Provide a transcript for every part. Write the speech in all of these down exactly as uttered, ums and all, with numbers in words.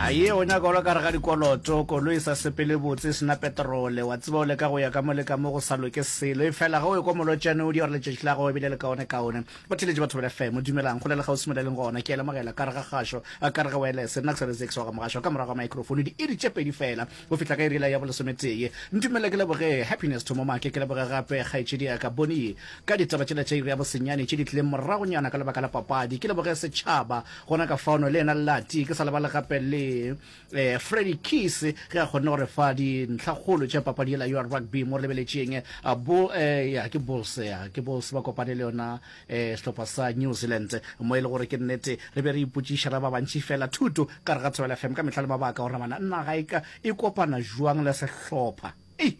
Aye, o nyaka o le ka re ga dikoloto, koloi e sa sepele botse, e sena petrole, wa tseba o leka go ya ka mo le ka mo go sa loke selo. Efela ge o ekwa molotšane o di gore letšatši la gago e bile le kaone-kaone. Batheeletši ba Thobela F M, dumelang, kgole le kgauswi mo le leng gona. Ke a lemogela ka re ga kgašo, ka re ga wireless, nna ke sa le Zex wa ga Mogašo, ka morago ga microphone, diiri tše pedi fela go fihla ka iri yela ya bolesometee. Ntumelle ke leboge Happiness Thomo Make, ke leboge gape kgaetšedi ya ka Bonnie ka ditaba tšela tša iri ya bosenyane tše di tlileng moragonyana ka lebaka la papadi. Ke leboge setšhaba gona ka fano le yena Lati, ke sa lebale gape le eh, Freddy Keys ge a kgonne gore fa dintlhakgolo tša papadi yela ya rugby mo re lebeletšeng uh, Bull, eh, ya ke Bulls ya ke Bulls ba kopane le yona eh, sehlopha sa New Zealand mo e le gore ke nnete re be re ipotšiša re ba bantši fela thuto ka re ga Thobela F M ka mehla le mabaka gore bana naga e ka e kopana jwang le sehlopha ei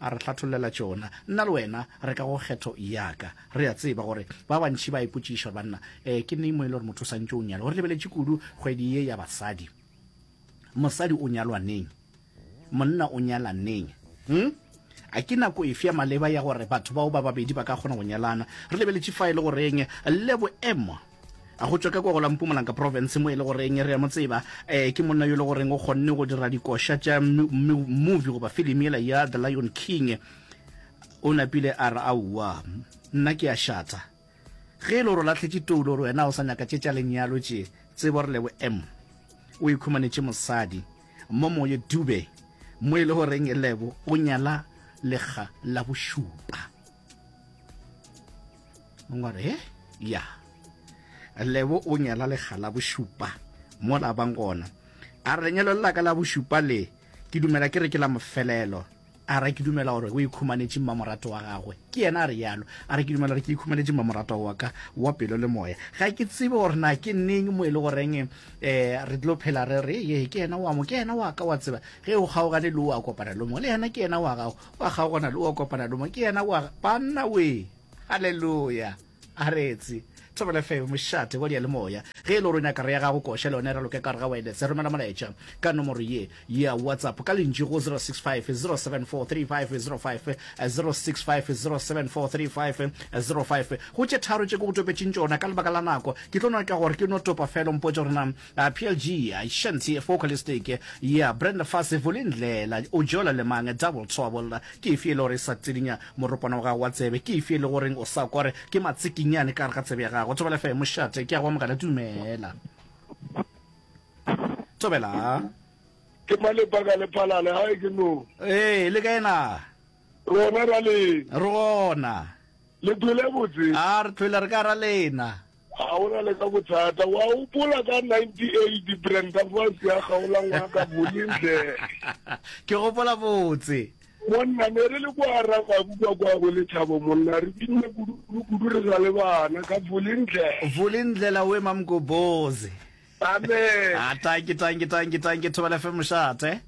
a re hlathollela tšona. Nna le wena re ka go kgetho ya ka. Re a tseba gore ba bantši ba ipotšiša gore banna eh, ke neng mo e le gore motho o santše o nyalwa. Re lebeletše kudu kgwedi ye ya basadi. Mosadi o nyalwa neng? Monna o nyala neng? Hmm? A ke nako efe ya maleba ya gore batho bao ba babedi ba ka kgona go nyalana? Re lebeletše fa e le goreng le boemo go tšwa ka kwa go la Mpumalanga province mo e le goreng re a mo tseba eh, ke monna yo e le goreng o kgonne go dira dikoša tša movie goba film yela ya The Lion King. O napile a re aowa nna ke a šata ge e le gore o lahletše toulo gore wena o sa nyaka tše tša lenyalo tše, tsebo re lebo M o ikhumanetše mosadi mo moye Dube mo e le goreng Lebo o nyala lekga la bošupa. Ngware he ya Lebo o nyala lekga la bošupa mo la bang gona. A re lenyalo la ka la bošupa le ke dumela ke re ke la mofelelo. A re ke dumela gore o ikhumanetše mmamorato wa gagwe. Ke yena a re yalo. A re ke dumela gore ke ikhumanetše mmamorato wa ka wa pelo le moya. Ga ke tsebe gore na ke neng mo e le goreng eh re tlo phela re re ye ke yena wa mo ke yena wa ka wa tseba ge o kgaogane le o a kopana le mongwe le yena ke yena wa gago wa kgaogana le o a kopana le mongwe ke yena wa banna we. Hallelujah. A retse Thobela F M mošate wa diyalemoya. Ge e le gore o nyaka re ya gago koša le yona e raloke ka gare ga wireless, romela molaetša ka nomoro ye ya WhatsApp ka lentšu go zero six five zero seven four three five zero five, zero six five zero seven four three five zero five. Go tše tharo tše ke go topetšeng tšona ka lebaka la nako, ke tlo nyaka gore ke no topa fela o mpotše gore na P L G, Shanti Vocalistic ya Brenda Fassie, Vulindlela, o jola le mang, Double Trouble, ke efe e le gore e sa tsidinya moropana wa gago wa tsebe, ke efe e le goreng o sa kwa gore ke matsikinyane ka gare ga tsebe ya gago. Thobela F M mošate, ke a go amogela, dumela. Thobela. Ke Malebaka le Phalale, gae ke no. Ee, le kae na? Rona ra lena. Re gona. Le phele botse? A re tlhwele re ka ra lena. A o na le ka bothata. Wa gopola ka ninety-eight Brenda Fassie ya kgaola ngwaka Vulindlela. Ke gopola botse. Monna ne re le kwa Ramabu kwa kwa bo Lethabo monna re binne kudu kudu kudu re sa le bana ka Vulindlela. Vulindlela we Mamgobozi. Amen. A tanki tanki tanki tanki Thobela F M mošate.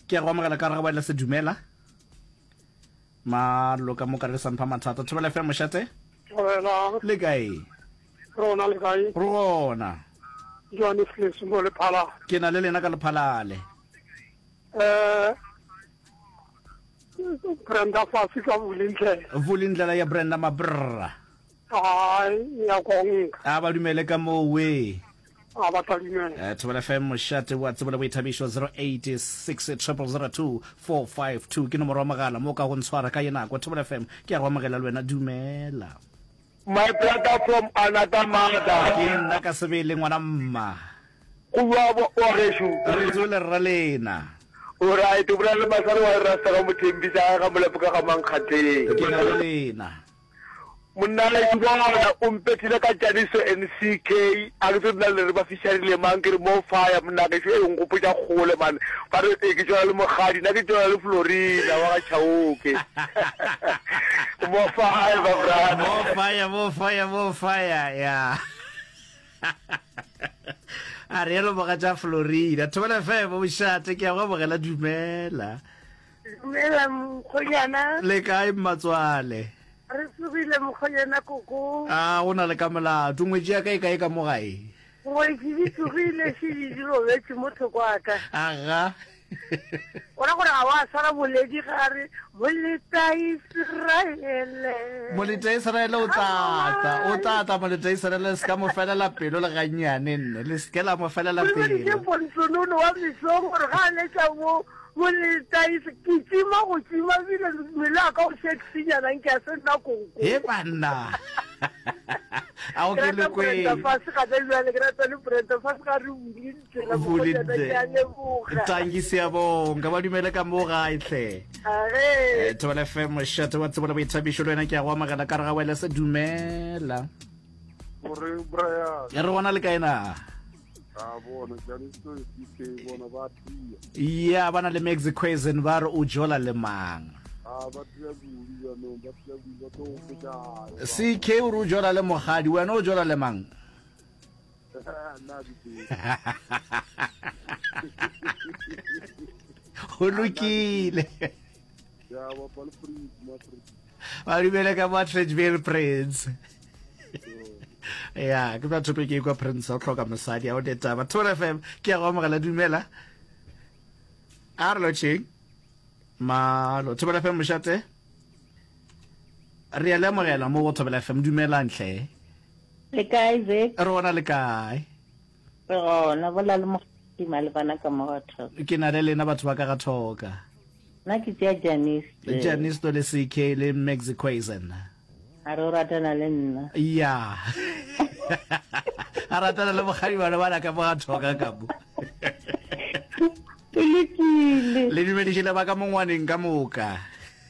Ke a go amogela ka re ga ba se dumela. Malo ka moka re sa mpha mathata. Thobela F M mošate. Thobela. Le kae? Rona le kae? Re gona. Johannes Leso mo Lephalale. Ke na le lena ka Lephalale. Eh Brenda Fassie ka Vulindlela. Vulindlela ya Brenda Mabrra. Ai ya konka. A ba dumele ka mo we. A ba tla dumela. Eh, Thobela F M mošate wa tsebo le boithabišo zero eight six triple zero two four five two ke nomoro ya mogala mo ka go ntshwara ka ye nako. Thobela F M ke ya go amogela le wena, dumela. My brother from another mother. Ke nna ka sebele ngwana mma. Go bua wa gešo. Re tswele rra lena. O right, o bolela le Masare wa Rasta ga Mothembisa ga Molapo ka ga Mankgatheng. Ke na le lena. Monna le bona o mpethile ka Janiso N C K a ke tsebe nna le re ba fisharile mang ke re mo fire monna gešo e nkgopotša kgole man ba re e ke tšwela le Mokgadi nna ke tšwela le Florina wa ga Chauke mo fire my brother mo fire mo fire mo fire ya a re yelo mogatša Florina Thobela F M mošate ke ya go amogela dumela. Dumela mokgonyana. Le kae mmatswale? Re tsogile mokgonyana koko. A go na le ka molato ngwetši ya ka e kae ka mo gae? Ngwetši di tsogile šedi di robetše mo thoko a ka. Aga. O ra gore ga wa swara boledi ga re moleta Israele. Moleta Israele o tla tla, o tla tla moleta Israele, se ka mo felela pelo le gannyane nne, le se ke la mo felela O lebaditše pelo. Ponsonono wa mesong gore ga a letša mo moleta Is- ke tšima go tšima bile mmele wa ka o sexinyana nke a se nna koko. He banna. A o Ke ke rata le Brenda kweng. Fassie gana bjale, ke rata le Brenda Fassie ga re bule tsela Bule mokgonyana, ke a leboga. Tanki siyabonga, ba dumele ka mo gae hle. Age. Eh, Thobela F M mošate wa tsebo le boithabišo le wena ke a go amogela ka re ga wele se dumela. Gore Brian. Re gona le kae na? A bona Janisto C K bona ba tia. Ya ba na le Maxi Quazen ba re o jola le mang? A ba tia kudu jaanong, ba tia kudu, ba tlo go feta. C K o re o jola le mogadi, wena o jola le mang? Nna ke tsebe. Go lokile. Ya bapa le Prince, ma Prince. Ba dumele ka mo Atteridgeville Prince. Ya, ke tla thope ke ikwa Prince o hloka mosadi a o ne taba. Thobela F M ke ya go amogela, dumela. A re lotšheng. Malo, Thobela F M mošate. Re a le amogela mo go Thobela F M, dumelang hle. Le kae, Zek? Re gona le kae? Re gona, bola le mogadi malebana ka mo ga Thoka. Ke na le lena batho ba ka ga Thoka. Nna ke tšea Janice. Janice le C K le Maxi Quazen. A re o ratana le nna. Ya. A ratana le mogadi bana ba ka mo ga Thoka ka mo. O lokile. Le dumediše le ba ka mongwaneng ka moka.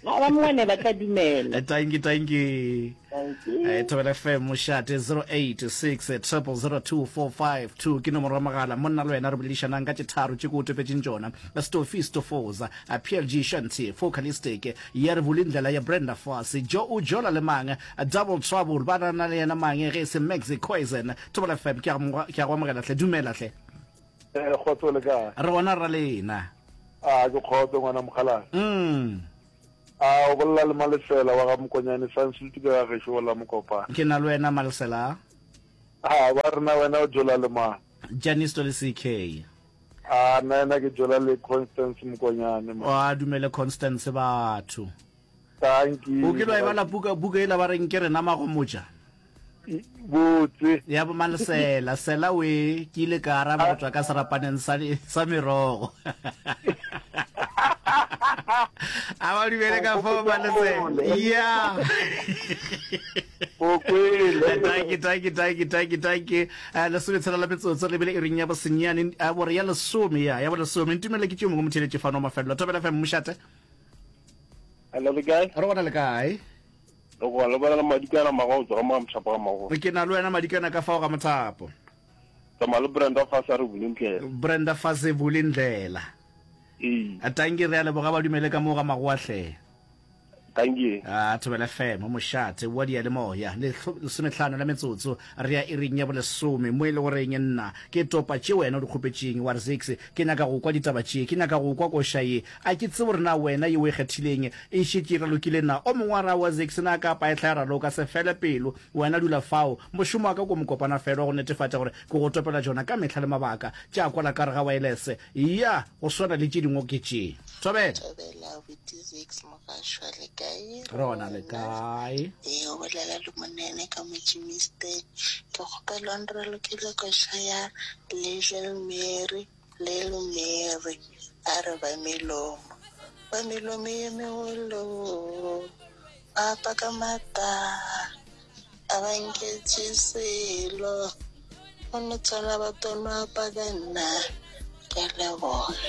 Ba ba mongwane ba tla dumela. Thank you, thank you. Thank you. Eh, Thobela F M mošate zero eight six triple zero two four five two ke nomoro ya mogala. Monna le wena re boledišanang ka tše tharo tše ke o topetšeng tšona. Stofi Stofoza, P L G Shanti, Focalistic, ya re Vulindlela ya Brenda Fassie, Jo o jola le mang, Double Trouble, ba na le yena mang ge e se Maxi Quazen. Thobela F M ke a go, ke a go amogela hle, dumela hle. Eh, kgotso le kae? Re gona ra lena. A ke kgotso ngwana mokgalane. Mm. A o bolela le Malesela wa ga Mokonyane Sansutu ke ga gešo la Mokopane. Ke na le wena Malesela. A ba rena wena o jola le mang? Janice le C K. A nna ena ke jola le Constance Mokonyane. O a dumele Constance batho. Thank you. O kile wa e bala buka, buka ela ba reng ke rena magomotša? Botse. Ya bo Malesela, sela we ke ile ka araba go tswa ka serapaneng sa, sa merogo. A ba dumele ka fao Malesela. Ya. O kwele. Thank you, thank you, thank you, thank you, thank you. Eh, lesometshela la metsotso le bile iring ya bosenyane, a bore ya lesome, ya, ya bolesome. Ntumele ke tšeo mongwe motheletše fano mafelelo. Thobela F M mošate. Hello, le kae? Re gona le kae? Le go le bona le Madikana mago go tswa mo Mothapo ga Mago. Ke na le wena Madikana ka fao ga Mothapo. Tsamaya le Brenda Fassie a re Vulindlela. Brenda Fassie Vulindlela. Ee. A tanki re a leboga ba dumele ka mo ga Magoa hle. Thank you. A Thobela F M mošate wa diyalemoya le lesometlhano la metsotso re ya iring ya bolesome mo e le goreng nna ke topa tše wena o di kgopetšeng wa re six ke nyaka go kwa ditaba tše ke nyaka go kwa koša ye a ke tsebe gore na wena ye o e kgethileng e šetše e ralokile na o mongwe wa ra wa six na ka paehla ya raloka se fele pelo wena dula fao mošomo wa ka ko mokopana fela wa go netefatša gore ke go topela tšona ka mehla le mabaka tša kwala ka re ga wireless ya go swana le tše dingwe ke tše Thobela. Thobela with six mogašwa le kae? Re gona le kae? Ee, o bolela le monene ka mo Germiston. Ke kgopela o nralokele koša ya Little Mary, Little Mary, a re ba melomo. Ba melomo ye megolo, ba paka mata, a ba nketše selo. Go no tshwana ba tono a paka nna. Ke a leboga.